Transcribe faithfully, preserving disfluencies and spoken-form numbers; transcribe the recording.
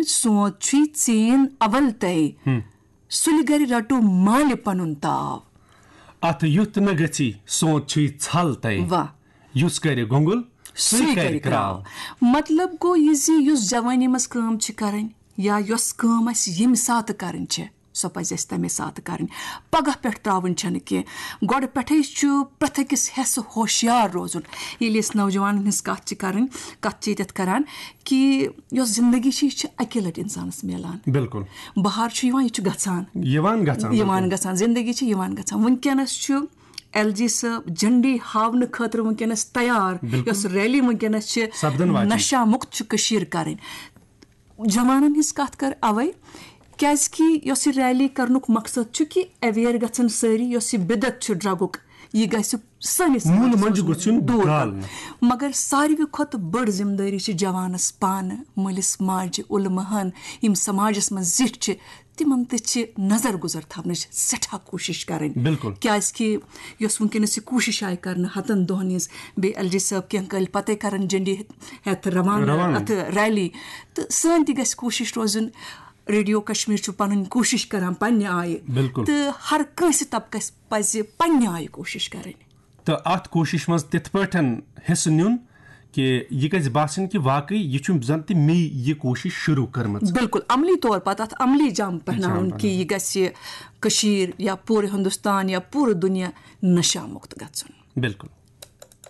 سونت چھُے ژین اول تَے، سُلہِ گرِ رٹو مالہِ پنُن تاو۔ اتھ یُتھ نہ گژھی، سونت چھُے ژھل تَے۔ واہ۔ یُس کرِ گۄنگُل، سُے سُے کرِ کرِ کرٛاو۔ کرٛاو۔ مطلب گوٚو یہِ زِ یُس جوٲنی منٛز کٲم چھِ کرٕنۍ یا یۄس کٲم اَسہِ ییٚمہِ ساتہٕ کرٕنۍ چھِ، سۄ پزِ اَسہِ تَمے ساتہٕ کرٕنۍ۔ پگاہ پٮ۪ٹھ ترٛاوٕنۍ چھَنہٕ کینٛہہ۔ گۄڈٕ پٮ۪ٹھَے چھُ پرٛٮ۪تھ أکِس حصہٕ ہوشیار روزُن۔ ییٚلہِ أسۍ نوجوانَن ہٕنٛز کَتھ چھِ کرٕنۍ، کَتھ چھِ ییٚتٮ۪تھ کران کہِ یۄس زندگی چھِ، یہِ چھِ اَکے لَٹہِ اِنسانَس میلان۔ بِلکُل۔ بہار چھُ یِوان، یہِ چھُ گژھان۔ یِوان گژھان، یِوان بِلکُل۔ گژھان، زندگی چھِ یِوان گژھان۔ وٕنکیٚنَس چھُ ایل جی صٲب جھنڈی ہاونہٕ خٲطرٕ وٕنکیٚنَس تیار، بِلکُل۔ یۄس ریلی وٕنکیٚنَس چھِ سپدن واجِنۍ۔ نشہ مُکت چھُ کٔشیٖر کَرٕنۍ۔ جوانَن ہِنٛز کَتھ کَرٕ اَوَے، کیٛازِکہِ یۄس یہِ ریلی کَرنُک مقصد چھُ کہِ اویئر گژھن سٲری، یۄس یہِ بدعت چھُ ڈرگُک، یہِ گژھِ سٲنِس موٗلہٕ سماجَس منٛجہِ منٛز گوٚژھ یُن دوٗر گالنہٕ۔ کَرُن۔ مگر ساروی کھۄتہٕ بٔڑ ذمہٕ دٲری چھِ جوانَس پانہٕ، مٲلِس ماجہِ، علماہَن، یِم سماجَس منٛز زِٹھۍ چھِ، تِمَن تہِ چھِ نظر گُزر تھاونٕچ سٮ۪ٹھاہ کوٗشِش کَرٕنۍ۔ بِلکُل۔ کیٛازِکہِ یۄس وٕنکیٚنَس یہِ کوٗشِش آیہِ کَرنہٕ ہَتَن دۄہَن ہِنٛز، بیٚیہِ ایل جی صٲب کینٛہہ کٲلۍ پَتَے کَرَن جھنڈی ہٮ۪تھ روانہٕ، روانہٕ۔ اَتھ ریلی، تہٕ سٲنۍ تہِ گژھِ کوٗشِش روزٕنۍ۔ ریڈیو کشمیر چھُ پنٕنۍ کوٗشِش کران پننہِ آیہِ، بِلکُل۔ تہٕ ہر کٲنٛسہِ طبقس پزِ پننہِ آیہِ کوٗشِش کرٕنۍ۔ تہٕ اتھ کوٗشش منٛز تِتھ پٲٹھۍ حصہٕ نیُن کہِ یہِ گژھِ باسٕنۍ کہِ واقعی یہِ چھُ زن تہِ مے یہِ کوٗشش شروٗع کٔرمٕژ۔ بِلکُل، عملی طور پتہٕ اتھ عملی جام پہناوُن پہناوُن۔ کہِ یہِ گژھِ کٔشیٖر یا پوٗرٕ ہندوستان یا پوٗرٕ دُنیا نشہ مُکت گژھُن۔ بِلکُل۔